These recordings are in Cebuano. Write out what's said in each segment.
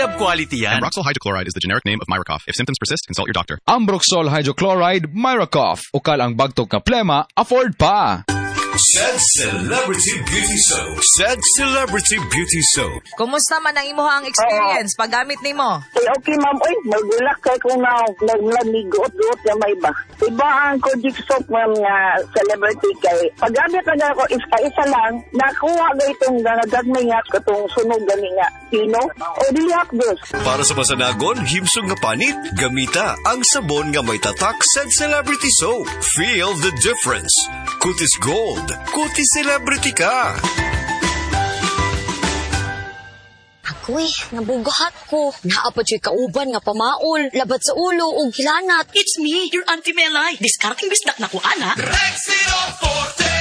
Unilab quality yan. Ambroxol hydrochloride is the generic name of Myrocough. If symptoms persist, consult your doctor. Ambroxol hydrochloride, Myrocough. Ukal ang bagtok nga plema, afford pa. Said Celebrity Beauty Soap. Said Celebrity Beauty Soap. Kumusta man ang imuhang experience paggamit nimo? Eh, okay, ma'am. Uy, magulak kay kung na naglamigot-got na may ba. Iba ang Kojic soap, ma'am, nga celebrity kay. Paggamit na ako isa-isa lang, nakuha ga itong gagmay nga katong sunog gani nga pino o dili hapdos. Para sa masanagon, himsog nga panit, gamita ang sabon nga may tatak Said Celebrity Soap. Feel the difference. Kutis Gold. Kutis Celebrity ka. Ako'y, nabugahat ko. Naa pa dyo'y kauban nga pamaol, labad sa ulo o gilanat. It's me, your Auntie Melay. Diskarting bisdak na ko, ana. Rexidol Forte!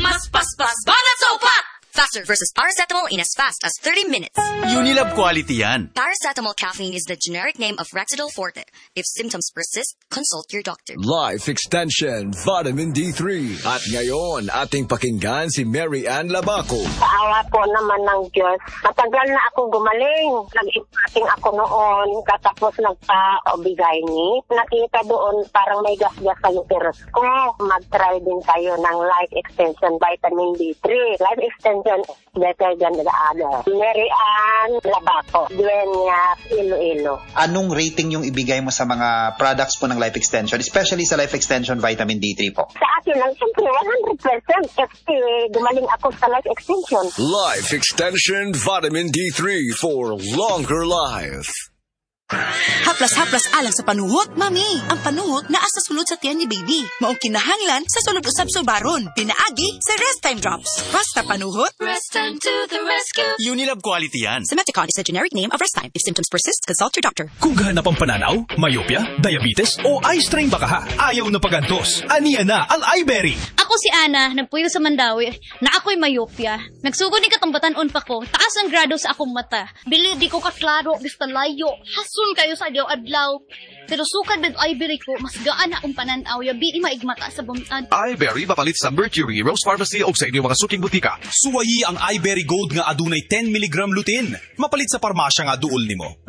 Mas paspas, banat sa upat! Faster versus paracetamol in as fast as 30 minutes. Unilab quality yan. Paracetamol caffeine is the generic name of Rexidol Forte. If symptoms persist, consult your doctor. Life Extension Vitamin D3. At ngayon, ating pakinggan si Mary Ann Labaco. Sa awa po naman ng Diyos, matagal na ako gumaling. Nag-impacting ako noon, katapos nagpa-obigayni. Nakita doon parang may gasgas sa uterus ko. Mag-try din tayo ng Life Extension Vitamin D3. Life Extension better than the other. Mary Ann Labaco, Dueñas, Iloilo. Anong rating yung ibigay mo sa mga products po ng Life Extension, especially sa Life Extension Vitamin D3 po? Sa akin lang, siyempre 100% kasi gumaling ako sa Life Extension. Life Extension Vitamin D3 for longer life. Haplas-haplas alang sa panuhot, mami. Ang panuhot naa sa sulod sa tiyan ni baby. Maong kinahanglan sa sulod usab sulbaron. Pinaagi sa Rest Time Drops. Basta panuhot. Rest Time to the rescue. Unilab quality yan. Simeticon is the generic name of Rest Time. If symptoms persist, consult your doctor. Kung gahanap ang pananaw, myopia, diabetes o eye strain baka ha, ayaw na pagantos. Aniya na ang iBerry. Ako si Ana, nagpuyo sa Mandawi, na ako'y myopia. Nagsugod ni katong batan-on pa ko, taas ang grado sa akong mata. Bili di ko kaklaro, basta layo, hasun kayo sa adlaw-adlaw. Pero sukad med iBerry ko, mas gaan akong pananaw, yabi maigmata sa bumtad. iBerry mapalit sa Mercury, Rose Pharmacy o sa inyong mga suking butika. Suwayi ang iBerry Gold nga adunay 10 mg lutein. Mapalit sa parmasya nga duol nimo.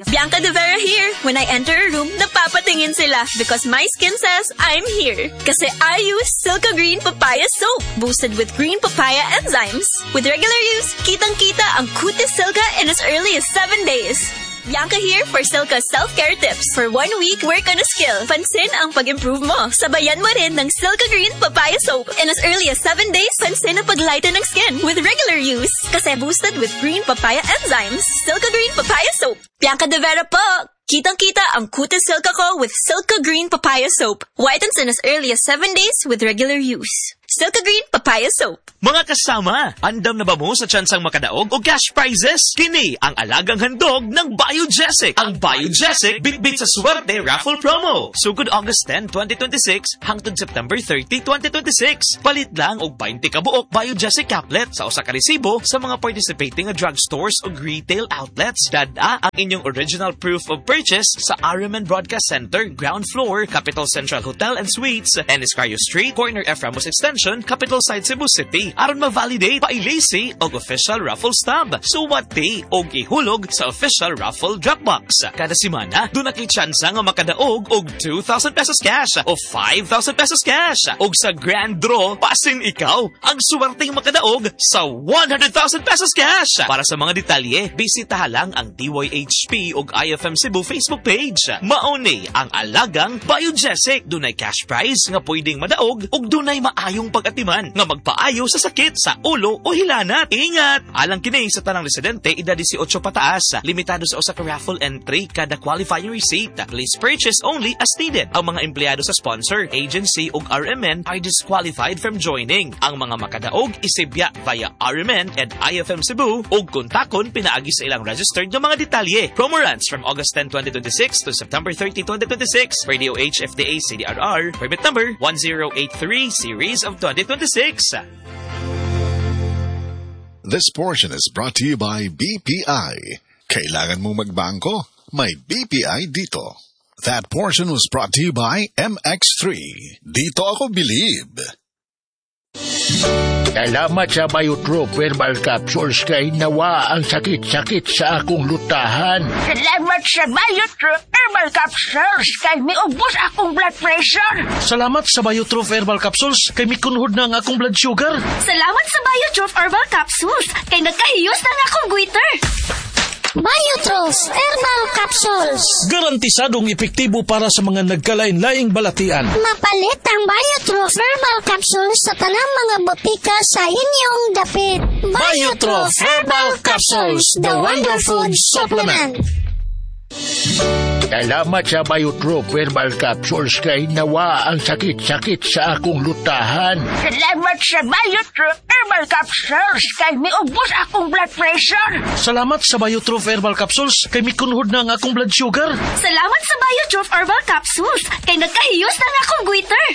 Bianca De Vera here. When I enter a room, napapatingin sila because my skin says I'm here. Kasi I use Silka Green Papaya Soap, boosted with green papaya enzymes. With regular use, kitang-kita ang kutis Silka in as early as 7 days. Bianca here for Silka self-care tips. For 1 week, work on a skill. Pansin ang pag-improve mo. Sabayan mo rin ng Silka Green Papaya Soap. In as early as 7 days, pansin ang pag-lighten ng skin with regular use. Kasi boosted with green papaya enzymes. Silka Green Papaya Soap. Bianca De Vera po! Kitang-kita ang kutis Silka ko with Silka Green Papaya Soap. Whitens in as early as 7 days with regular use. Silka Green Papaya Soap. Mga kasama, andam na ba mo sa tsansang makadaog o cash prizes? Kini ang alagang handog ng Biogesic. Ang Biogesic Bitbit sa Swerte Raffle Promo. Sugod August 10, 2026 hangtod September 30, 2026. Palit lang og 20 ka buok Biogesic caplet sa usa ka resibo sa mga participating nga drugstores o retail outlets. Dad-a ang inyong original proof of purchase sa RMN Broadcast Center, Ground Floor, Capital Central Hotel and Suites, Escario Street, Corner F. Ramos Extension, Capital Side, Cebu City. Aron ma-validate, pailisi og official raffle stub. Suwati og ihulog sa official raffle drop box. Kada semana, duna kay tsansa nga makadaog og 2,000 pesos cash o 5,000 pesos cash. Og sa grand draw, pasin ikaw ang suwerteng makadaog sa 100,000 pesos cash. Para sa mga detalye, bisitaha lang ang DYHP og IFM Cebu Facebook page. Mauni ang alagang Biogesic. Dunay cash prize nga pwedeng madaog og dunay maayong pag-atiman nga magpaayo sa sakit sa ulo o hilanat. Ingat! Alang kini sa tanang residente edad 18 pataas. Limitado sa usa ka raffle entry kada qualifying receipt. Please purchase only as needed. Ang mga empleyado sa sponsor, agency ug RMN are disqualified from joining. Ang mga makadaog isibya via RMN and IFM Cebu ug kontakon pinaagi sa ilang registered nga mga detalye. Promo runs from August 10, 2026 to September 30, 2026. Radio HFDA CDRR, permit number 1083 series of 2026. This portion is brought to you by BPI. Kailangan mong magbangko? May BPI dito. That portion was brought to you by MX3. Dito ako believe. Salamat sa Biotroph Herbal Capsules kay nawa ang sakit-sakit sa akong lutahan. Salamat sa Biotroph Herbal Capsules kay miubos akong blood pressure. Salamat sa Biotroph Herbal Capsules kay mikunhod na ang akong blood sugar. Salamat sa Biotroph Herbal Capsules kay nagkahiyos na ang akong goiter. Biotroph Herbal Capsules. Garantisadong epektibo para sa mga nagkalain-laing balatian. Mapalit ang Biotroph Herbal Capsules sa tanang mga botika sa inyong dapit. Biotroph Herbal Capsules, the wonderful supplement. Salamat sa Biotroph Herbal Capsules kay nawa ang sakit-sakit sa akong lutahan. Salamat sa Biotroph Herbal Capsules kay miubos akong blood pressure. Salamat sa Biotroph Herbal Capsules kay mikunhod na ang akong blood sugar. Salamat sa Biotroph Herbal Capsules kay nagkahiyos na ang akong goiter.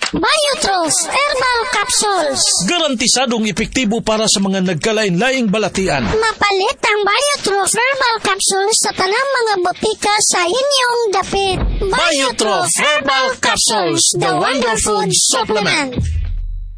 Biotroph Herbal Capsules. Garantisadong epektibo para sa mga nagkalain-laing balatian. Mapalit ang Biotroph Herbal Capsules sa tanang mga botika sa inyong dapit. Biotroph Herbal Capsules, the wonderful supplement.